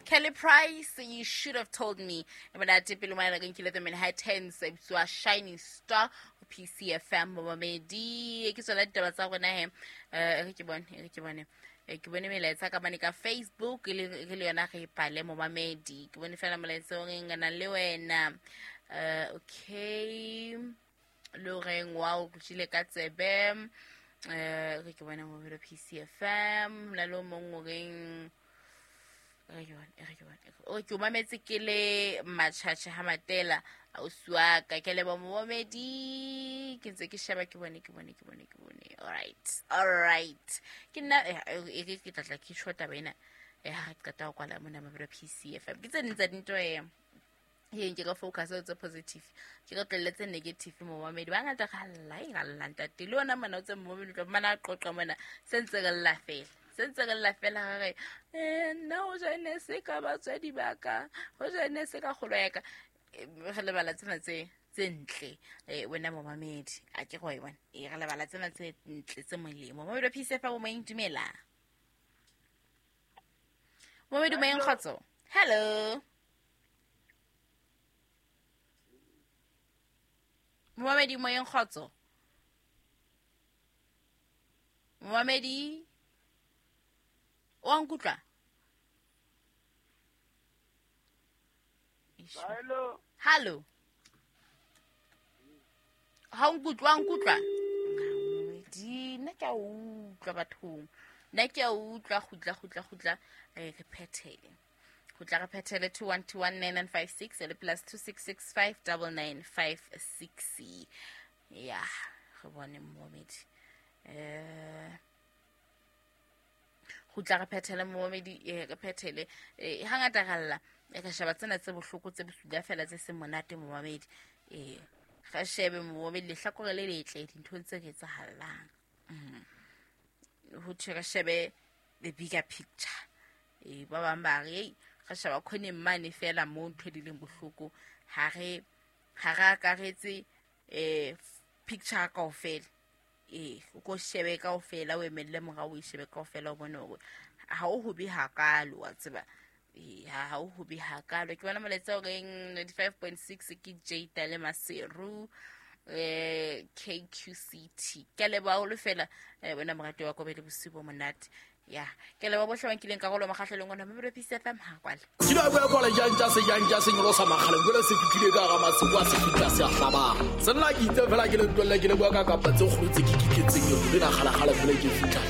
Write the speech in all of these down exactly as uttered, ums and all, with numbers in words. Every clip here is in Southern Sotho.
Kelly Price, You Should Have Told Me. E monate pele mane re nkile The Manhattans, e bitswa Shining Star ho P C F M momamedi. Ke tsona ditaba tsa rona he. Eh, re ke bone, re ke bone. Ke bone melaetsa ka mane ka Facebook le re le yona re ipale momamedi. Ke bone fela molaetsa o reng na le wena. Eh, okay. Le reng wa o tjile ka tsebe. Eh, re ke bona mo P C F M la lo mong o reng re ke bona, re ke bona. O ke o mametse ke le Matjhatjha ha Matela ausi wa ka, ke leboha momamedi. Ke ntse ke sheba, ke bone, ke bone, ke bone, ke bone. All right, all right. Ke nna, e re ke tla tla ke tjho taba ena. Eh, ha re qeta ho kwala mona mabelo P C F M. Ke tse ding tsa dintho e e nke ka focus ho tse positive. Ke re tlelletse negative momamedi. Ba ngata ra lla, ra lla ntate. Le ona mona o tse momamedi tlo mana qoqa mona se ntse re lla fela. Se ntse re lla fela ra re, eh, nna ho ja ne se ka batswadi ba ka, ho ja ne se ka kgolo ya ka. Re lebala tsena tse, tse ntle. Eh, wena momamedi, a ke go e bona. Eh, re lebala tsena tse ntle tse molemo. Momamedi wa P C F M moyeng, dumela. Momamedi moyeng, kgotso. Hello. Momamedi moyeng, kgotso. Momamedi, o a nkutlwa? Hello. Hello. Ha o nkutlwa, o nkutlwa? Di, nna ke a utlwa bathong. Nna ke a utlwa, kgutla, kgutla, kgutla. Eh, re phethele. Kgutla re phethele two one two one nine nine five six le plus two six six five double nine five six. Ya, re bone momamedi. Eh, kgutla re phethele momamedi, eh, re phethele. Eh, hangata ra lla. E ka sheba tsena tse bohloko tse bosula fela tse seng monate momamedi. Eh, re shebe momamedi lehlakore le letle dinthong tse re etsahalang. Mm. Ho thwe re shebe the bigger picture. Eh, ba bang ba re, ei, re sheba khoneng mane fela mo ntho di leng bohloko. Ha re, ha re akaretse, eh, picture kaofela. Eh, o ko shebe kaofela, o emelle morao, o e shebe kaofela, o bone hore ha o hobe hakalo, wa tseba. Eh, ha o hobe hakalo. Ke bona molaetsa o reng ninety-five point six ke Jada le Maseru, eh, K Q C T. Ke a leboha haholo fela, eh, wena morati wa Kobe le bosiu bo monate. Ya, ke leboha bohle ba nkileng karolo mokgahlelong ona. Mabelo P C F M ha kwale. Ke la bua kwale jang tsa se jang tsa se nyolosa makgaleng, jwale se fihlile ka hara masiu a se fihla se a hlabang. Se nna ke itse fela ke le ntwelle, ke le bua ka kapa tse kgolo tse ke kiketseng eo, le na kgalakgala fela ke fihla.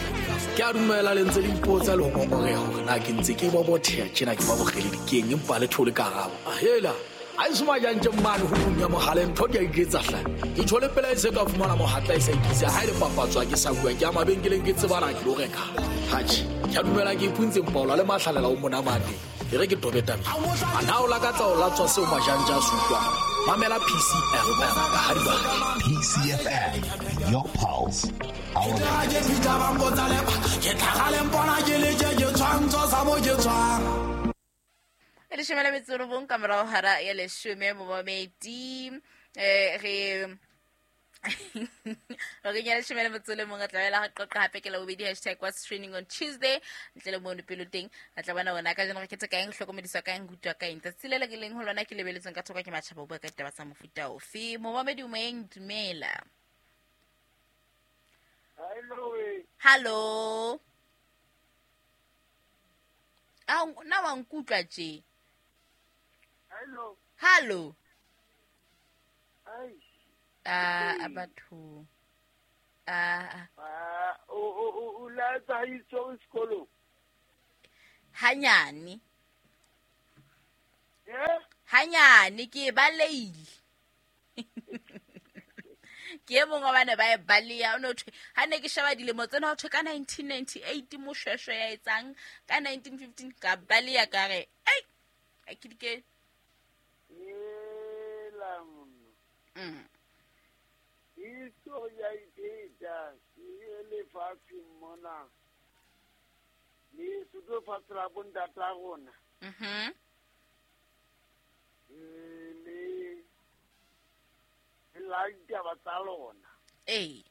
Ke a dumela le ntse le ipotsa le ho ngongoreha hore na ke ntse ke bobotheha tjena, ke ba bokgeledi keng, empa le thole karabo. Hela, ha e soma jang tje mane ho tlung ya mohale, ntho di a iketsa hle. Ke tjho le pele e se ka fumana mohatla e sa ikise, ha e le papatswa ke sa bua, ke ya mabenkeleng ke tsebana ke lo reka. Hatjhe, ke a dumela ke ipuntse mpaola le mahlalela o monamate. E re ke tobe tabeng. A na o lakatsa ho latswa seo majanja a se utlwang? Mamela P C F M ka ha di batla. P C F M, your pulse, our Ke fihla ba mpotsa lepa, ke tlhaga le mpona ke le tje, ke tshwantsho sa mo ke tswang. E leshome le metso e robong ka morao hara ya leshome momamedi. Eh, re re kenya leshome le metso e le mong, re tla boela re qoqa hape ke Labobedi, hashtag what's trending on Tuesday. Ntle le mono pelo teng, re tla bona hore na kajeno re khetha kaeng, re hlokomediswa kaeng, re utlwa kaeng. Tsatsi le le re leng ho lona ke lebeletsweng ka thoko ke matjhaba, ho bua ka ditaba tsa mofuta ofe. Momamedi moyeng, dumela. Hello. Hello. A na wa nkutlwa tje? Hello. Hello. Ai. Ah, batho. Ah. Ah, o o o o la tsa itso sekolo. Hanyane. Eh? Hanyane ke baleile. Ke e mongwe wa bana ba e baleya, o no thwe, ha ne ke sheba dilemo tsena, ho thwe ka nineteen ninety-eight moshweshwe ya etsang, ka nineteen fifteen ka baleya ka re, ei, a ke di ke. Ela mono. Mm. Histori ya iphetha, e lefatsheng mona. Le Sotho fatshe la bontata rona. Mhm. Eh, le la ditaba tsa lona. Ee.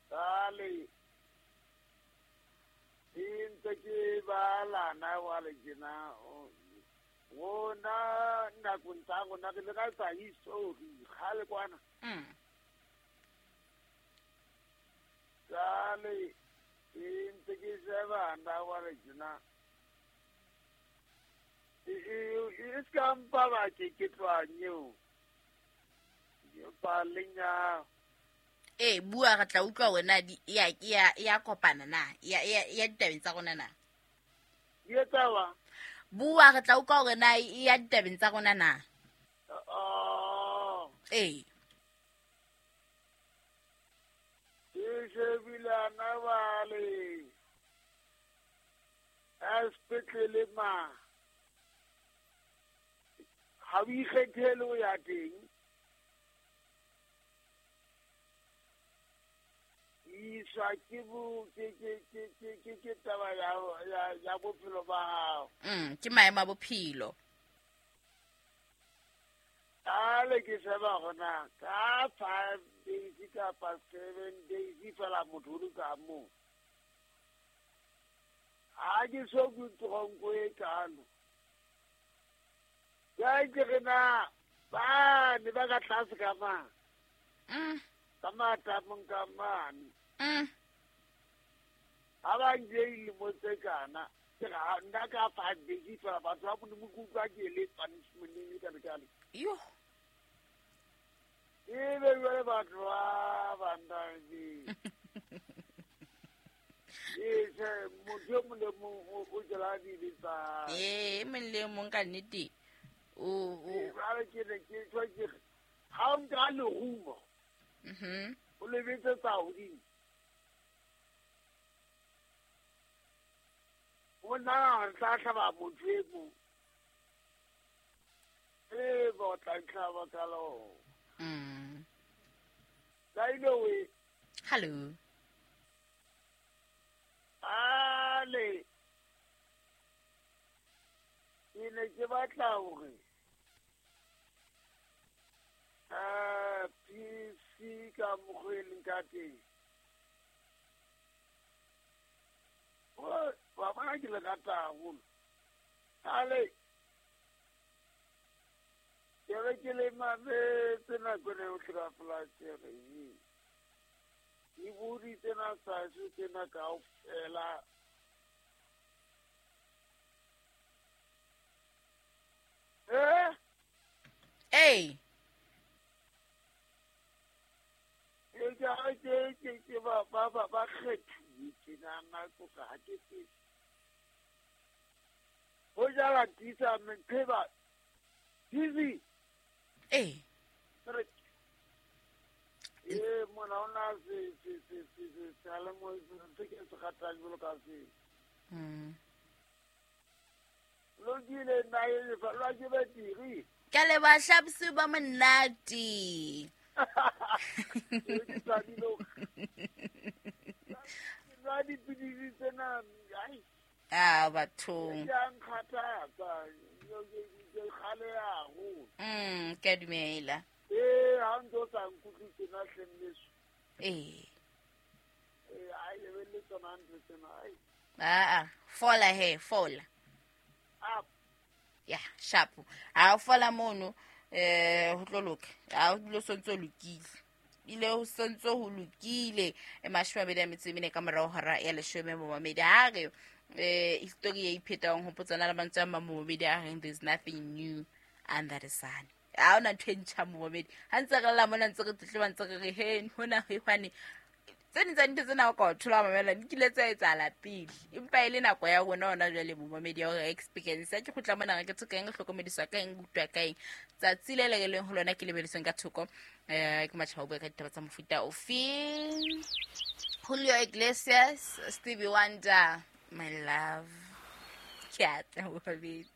Jwale, e ntse ke Shebala na wa le tjena rona nakong tsa rona re le ka tsa history kgale kwana. Mm. Jwale e ntse ke sheba na wa le tjena e e ska mpa ba ke ke tloang eo palenya. Ee, bua re tla utlwa wena di ya ya ya kopana na ya ya ya ditabeng tsa rona na. Di etsa wa? Bua re tla utlwa hore na e ya ditabeng tsa rona na. Oh. Ee. Ke shebile na wale. A sepetlele ma. Ha o ikgethele ho ya teng. Iswa ke bo ke ke ke ke ke ke taba ya ya ya bophelo ba hao. Mm, ke maemo a bophelo. Ale ke sheba gona ka five days kapa seven days fela motho o ka mo. Ha ke so ke tronko e kalo. Ka ke re na ba ne ba ka tlase ka ma. Mm. Ka matamong ka mane. Mm. Ha ba nje lemo tse kana ke ga nna ka five days fela batho ba Modimo ke utlwa ke le punishment e ka lekale. Yo. E be jwale batho ba bandane. E se motho e mong le mong o jela dibe tsa. Ee, e mong le mong ka nnete. O o jwale ke ne ke tjho ke re, ha o nka lerumo. Mhm. O le betsetsa hodimo. O nahana re tla hlaba motho e mong. E ba o tla ntlhaba ka lona. Mm. Ka ile we. Hello. Ale. Ke ne ke batla hore ah P C ka mokgwa e leng ka teng. O ba bona ke le rata haholo. Ale. Ke re ke le mametse nako ena yohle ka polasi re e. Di bodi tsena tsa heso tsena kaofela. Eh? Ee. E ke ke ke ke ba ba ba ba kgethuwe tjenana ko ka ha ke tsebe. Ho jala tisa mpheba. Busy. Ee. Re e mona ona se se se se se seyalemoya se ke se ratang jwalo ka se. Mm. Lokile nna e fa lwa ke betiri. Ke a leboha hlabose ba monate. Ke thabile ho- Ke nwa dipidisi tsena, ai. Ah, bathong. Ke a nkgathatsa, ke ke kgale haholo. Mm, ke a dumela. Ee, ha ntse o sa nkutlwe tjena hleng leso. Ee. Ee, a lebelle tsona ntho tsena, ai. Ah, ah, fola he, fola. Ah. Ya, sharp. Ha o fola mono, eh ho tlo loka. Ha o dilo sontso lokile. Ile ho sontso ho lokile. E mashome a mabedi a metso e mene ka morao hora ya leshome momamedi. Ha re eh history e iphetang ho potsana le mantswe a mang momamedi a reng there's nothing new under the sun. Ha hona ntho e ntjha momamedi. Ha ntse re lla mona ntse re tletleba ntse re re he hona he hwane. Tse ding tsa dintho tsena o ka o thola mamela di kile tsa etsahala pele. Empa e le nako ya rona hona jwale momamedi ya hore experience. Ha ke kgutla mona re ke tshoka eng, re hlokomediswa ka eng, re utlwa ka eng. Tsatsi le le re leng ho lona ke lebedisweng ka thoko. Eh ke matjhaba o bua ka ditaba tsa mofuta ofe. Julio Iglesias, Stevie Wonder, my love. Ke a tla momamedi.